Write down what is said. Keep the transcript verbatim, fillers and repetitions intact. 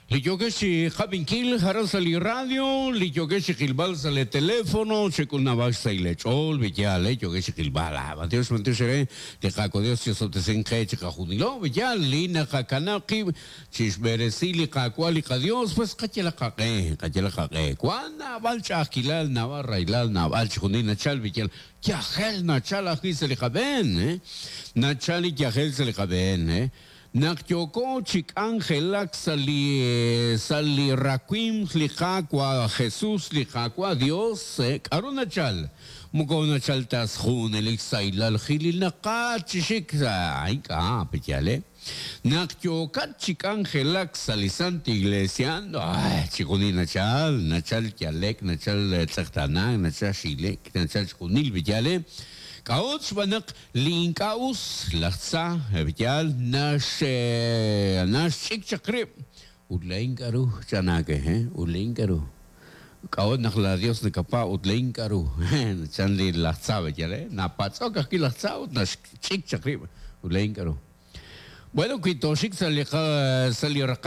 Li yookex chi qab'inkil aran sa' li radio, li yookex chi qilb'al sa' li teléfono, xek'ulnab'ax sa' li ch'ool, b'iyal, eh, yookex chi qilb'al, ah, b'antiox, b'antiox re, li Qaawa' Dios chisob'tesinq qe chiqajunilo, b'iyal, li naqakanab' qib' chixb'eresi li Qaawa' li qaDios, pues qayalaq qaq'e, qayalaq qaq'e. Wan naab'al ch'a'ajkilal, naab'al rahilal, naab'al chijunil nachal, b'iyal, yajel nachal ajwi' sa' li qab'een, eh? Nachal li yajel sa' li qab'een, eh? Naq yooko chi k'anjelak sa' li sa' li rawimq li Qaawa' Jesus, li Qaawa' Dios, eh, k'aru nachal? Moko nachal ta junelik sahilal jilil naqat chi xik, ay ink'a' peyal, eh? Naq yookat chi k'anjelak sa' li Santa Iglesia, ay, chijunil nachal, nachal yalek, nachal tz'eqtanak, nachal xilek, nachal chijunil peyal, eh? K'a'ut xb'aan naq li ink'a' us laj tza, b'iyal, nax naxch'ik chaq rib'. Ut laa'in k'aru, chanaake, eh? Ut laa'in k'aru. K'a'ut naq la Dios nakapa' ut laa'in k'aru. Chan li laj tza, b'iyal, eh? Napatz'ok ajwi' laj tza ut naxch'ik chaq rib'. Ut laa'in k'aru. Bueno, wi toxik sa' li sa' li raqal